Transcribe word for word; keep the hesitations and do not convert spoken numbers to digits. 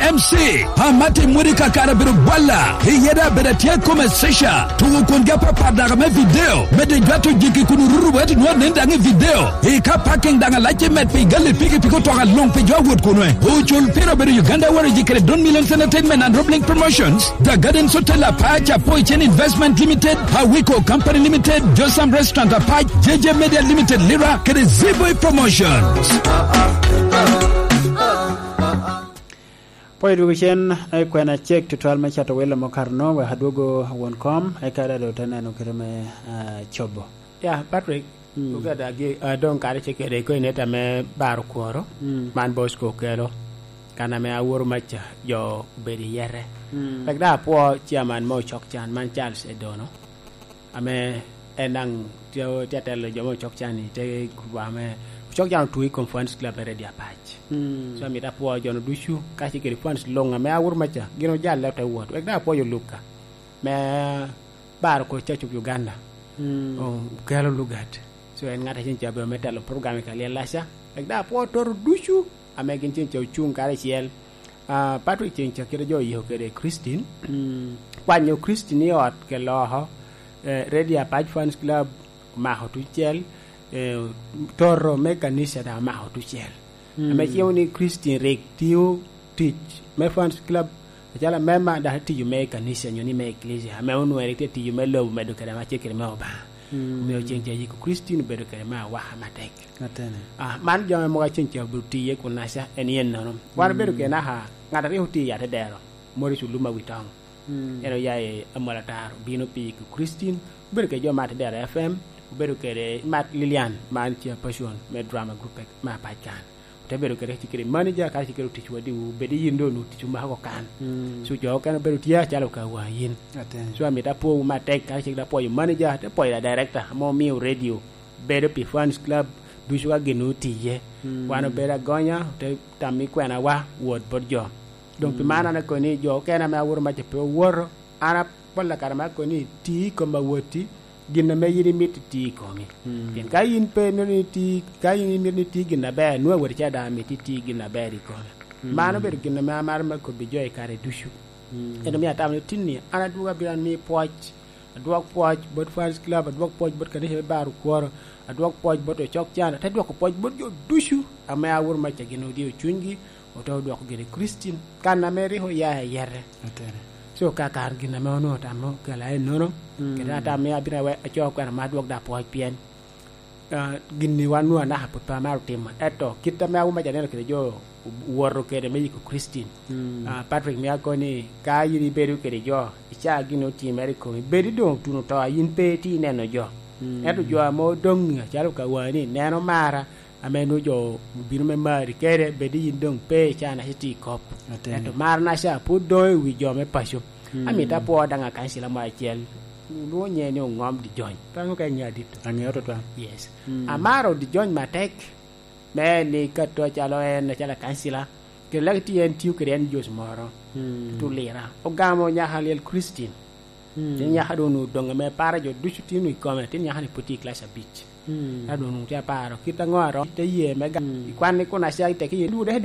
M C, Amati Mwiri Kakara bino bwalla, i yede abedo atye kome Sesha, tugo kwongi apapat daga me video, medde jwato jiki kun oruto wet nwa nen daŋ i video, i ka parking daŋ alac i met pi gali piki piki otoka luŋ pi jo awot kunwe. Ocul pira obedo Uganda Warriors kede Don Millions Entertainment and Roblink Promotions, The Gardens Hotel Apac, Apoy Chen Investment Limited, Awiko Company Limited, Josam Restaurant Apac, J J Media Limited Lira, kede Z-Boy Promotions. Pwod dwogo cen, eh, kwena cek tutwal me cato welo me okato-nu, wek adwogo won kom, eka daŋ doŋ te neno kite me, ah, cobo. Ya, Patrick, mm, oga da gi, ah, doŋ kare ce kede ko ineta me baro kworo, mm, man Bosco okelo, kan ame aworo maca, jo obedo i yete. Mm. Wek daŋ apwo chairman me Ocok Can, man Charles Edono. Ame en daŋ tye, tye atelo jo me Ocok Can-ni, te gurup ame Ocok Can otwo i kom Fans Club me Ready Apac. Mm. So, amito apwo jo-nu ducu, ka ce kede fans luŋ ame aworo maca, gin ojalle ote wot. Wek daŋ apwo jo Luka, me baro kor Church of Uganda. Mm. O-, okelo lugat. So, en ŋat acel ca bedo me telo program i Kalyel Laca. Wek daŋ apwo toto ducu, ame gin cen ca ocuŋ karacel. Ah, Patrick, cen ca kite jo oyiko kede Christine. Mm. Kwanyo Christine i ot kelo oko, eh, Ready Apac Fans Club omako tucel, eh, toto me kanica daŋ omako tucel. Mm. Ame cimo ni Christine rik tiyo tic me Fans Club, acalo amemba, dok etiyo me kanica nyo ni me eklesia, ame onwere tye tiyo me lobo medo kede ame tye kede me Obaŋa. Mm. Omio cen ca yiko Christine obedo kede me awaka matek. Atene. Ah, man jo ame mogo acen ca obedo tiye kun naca en yen nono. Wan obedo, mm, kede naka ŋat a rik otiyo i atedero, Morris Oluma Witoŋo. Mm. En oya i Amolatar, obino pi yiko Christine, obedo kede jo me atedero F M, obedo kede Mat Lilian, man chairperson me drama group me Apac kan. Ote bedo kede, kede manager, ka kede otic wadiwu, bed yin doŋ onwoŋo tic omako kan. Mm. So, jo okene obedo tye acalo ka wa yin. Atene. So, amito apwowu matek, ka cik apwoyo manager, te pwoyo da director, ame omio radio bedo pi Fans Club, ducu ka gin otiye. Mm. Wan obedo agonya, te tam i kwena wa, wot bot jo. Doŋ pi, mm, man an akoni jo okene ame aworo maca pe owoto, an apolla kare me akoni ti i kom awoti, gin ame yin imito iti i komi. Mm. Pien ka yin pe imito ni iti, ka yin imito ni iti gin aber, nwoŋo awoti ca daŋ amito iti gin aber i kome. Mm. Mano obedo gin ame amaro me kobbi jo i kare ducu. Mm. En omio atamo ni tinni, an adwogo abino an mi pwoc, adwok pwoc bot Fans Club, adwok pwoc bot kanica me Bar Okworo, adwok pwoc bot Ocok Can, ate dwoko pwoc bot jo ducu ame aworo maca gin odyo cunygi, ote odwoko gire Kricin, kan ame rik oya i yete. Atene. So, ka kare gin ame onwoŋo otamo kela ennono, mm, kede atamo ni abino awe-, acoo kwena ma adwok da pwoc pien, ah, gin-ni wan nwoŋo anaka pwod pe amaro timo. Ento kit ame awuma ca neno kede jo owoto kede me yiko Kricin. Mm. Ah, Patrick, mio akoni, ka yin ibedo kede jo, icaa gin otimere i komi, bed idoŋ otuno to, a yin pe itye ineno jo. Mm. Ento jo ame odoŋ acalo ka wani, neno mara, ame nwoŋo jo obino me mari kede, bed yin doŋ pe icaa naca itye i kop. Atene. Ento mar naca pwod doŋ i wi jo me paco. Mm. Amito apwo daŋ akancila mo acel. Olwoŋo nyiŋe ni Oŋom Dijony. Pe aŋeo ka iŋeo adito. Aŋeo tutwal. Yes. Mm. Amaro Dijony matek. Me ni kato acalo en, acalo akancila. Kede laki tye en tiyo kede en Jos moro. Mm. Tutu Lira. Ogamo nyaka lyel Kricin. Mm. Tin nyaka doŋ onwoŋo doŋ ame paro jo ducu tye onwoŋo i kome, tin nyaka ni pwod tye i kilac abic. Mm. Ka doŋ onwoŋo tye aparo kit aŋo aromo te ye me ga-, mm, i kwan ni kun aca i teki ye, dwogo dek